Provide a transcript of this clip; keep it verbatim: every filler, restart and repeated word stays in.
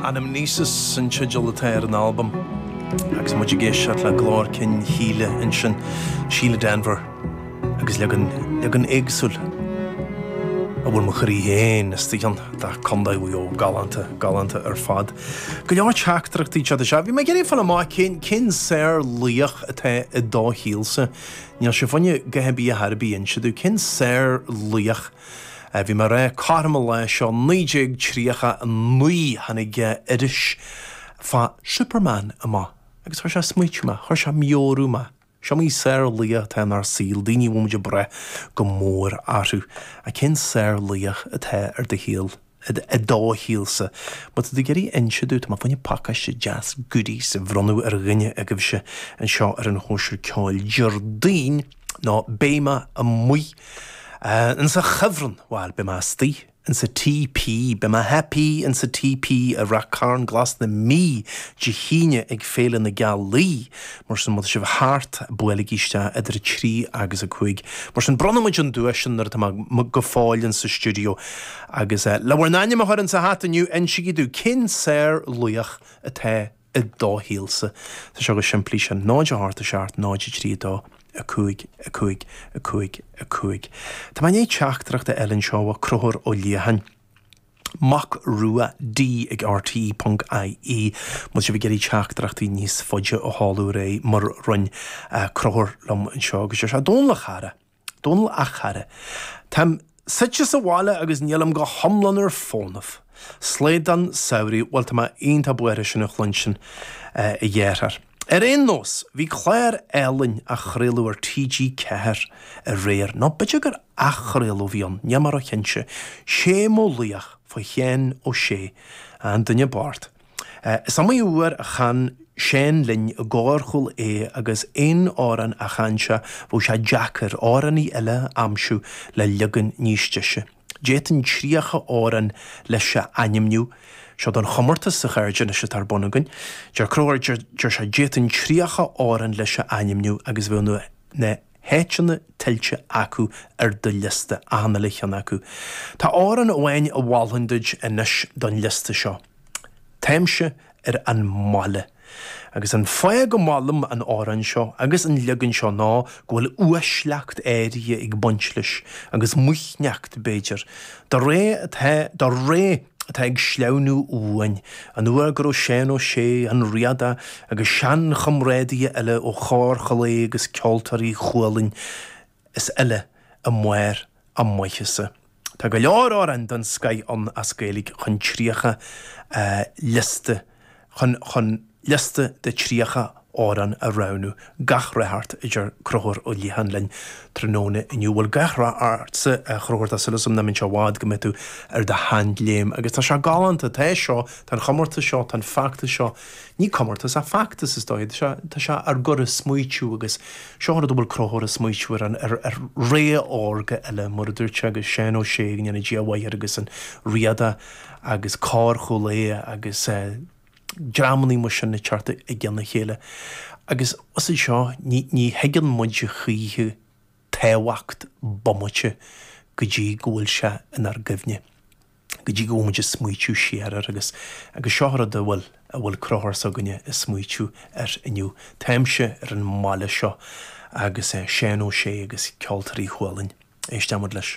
Anamnesis an teideal atá ar an albam agus muid ag éisteacht le glór cinn Shíle ansin Síle Denvir agus leagan leagan éagsúil a bhfuil mo chroí féin istigh ann de Contae Mhaigh Eo galánta galánta ar fad. Go leor teachtaireachtaí seo seo, Bhí mé ag iarraidh fáil amach cén cén sárlaoch atá i do shaolsa. Níl sé foighne go bí a tharbí inse domh cén sárlaoch Bhí mé rá cothrom an lae seo naoi déag tríocha a naoi tháinig iris fá Superman amach agus chuir sé smaoitiú mé, chuir sé meabhrú mé. Is iomaí sárlaoch atá inár saol, daoine a bhfuil muid ag brath go mór orthu. A cén sárlaoch atá ar do shaol i do shaolsa. Má tá tú ag iarraidh inse domh tá mé fá choinne pacáiste deas goodies a bhronnadh ar dhuine agaibhse anseo ar an chóisir ceoil Déardaoin nó beidh mé amuigh insa chuibhreann bhuel beidh mé istigh insa TP, beidh mé happy insa TP i Ráth Cairn Glas na Mí Dé hAoine ag Féile na Gealaí, mar sin má tá sibh thart buailigí isteach idir a trí agus a cúig. Mar sin bronnfaidh muid an duais sin nuair atá mé go fóill insa stiúideo agus le bhur n-ainm a chur insa hata inniu insígí domh cén sárlaoch atá i do shaolsa. Tá seo go simplí sin náid a hocht a seacht náid a trí dó. a cúig, a cúig, a cúig, a cúig. Tá mé i ndiaidh teachtaireacht a fháil anseo ó Conchúr Ó Liatháin. Mac Rua D ag RTE ponc IE Má tá sibh ag iarraidh teachtaireachtaí níos faide a sheoladh ar aghaidh mar rinne Conchúr liom anseo agus deir sé Dónal a chara, Dónal a chara. Táim suite sa bhaile agus nílim go hiomlán ar fónamh. Slaghdán samhraidh, bhuel tá mé iontach buartha sin a chluinstin a dheartháir. Ar aon nós, bhí clár álainn á chraoladh ar TG Ceathair aréir, nó b'fhéidir gur athchraoladh a bhí ann, níl mé róchinnte, Sé mo laoch fá Sheán Ó Sé, an duine bocht. Is iomaí uair a chan Seán linn i gcór Chúil Aodha agus aon amhrán a chan sé bheadh sé deacair amhránaí eile a aimsiú le leagan níos deise. D'fhéadfainn tríocha amhrán leis a ainmniú. Seo don chomórtas a chairde anois atá ar bun againn. Deir Conchúr, deir sé d'fhéadfainn tríocha amhrán leis a ainmniú agus bheadh na na háiteanna tuillte acu ar do liosta, achan uile cheann acu. Tá amhrán amháin a mholfainn duit anois don liosta seo. Táimse ar an mbaile. Agus an fáth go molaim an amhrán seo agus an leagan seo ná go bhfuil uaisleacht áirithe ag baint leis, agus maoithneacht, b'fhéidir, do ré atá, do ré atá ag sleamhnú uainn, an uair go raibh Seán Ó Sé, an Riadach agus seanchomrádaithe eile ó Chór Chúil Aodha agus Ceoltóirí Chualann is eile i mbarr a maitheasa. Tá go leor amhrán den scoith ann as Gaeilge chun tríocha liosta chun chun liosta de tríocha amhrán a roghnú. Gach rath ort, a deir Conchúr Ó Liatháin linn tráthnóna inniu. Bhuel, gach rath ortsa, a Chonchúir, tá súil agam nach mbeidh sé i bhfad go mbeidh tú ar do sheanléim. Agus tá sé galánta, tá seo, tá an chomórtas seo, tá an feachtas seo, ní comórtas ach feachtas is dóigh, tá sé, tá sé ár gcur ag smaoitiú agus seo an rud a bhfuil Conchúr ag smaoitiú ar, an, ar, ar ré órga eile, mar a dúirt sé, agus Seán Ó Sé, go ndéana Dia a mhaith air agus an Riadach agus Cór Chúil Aodha agus eh, dreamanna mar sin ag teacht i gcionn a chéile. Agus os é seo ní, ní thuigeann muid a choíche tábhacht bomaite go dtí go bhfuil sé inár gcuimhne, go dtí go bhfuil muid ag smaoitiú siar air agus agus seo rud a bhfuil a bhfuil Conchúr s'againne ag smaoitiú air inniu. Táimse ar an mbaile seo agus eh, Seán Ó Sé agus Ceoltóirí Chualann. Éisteann muid leis.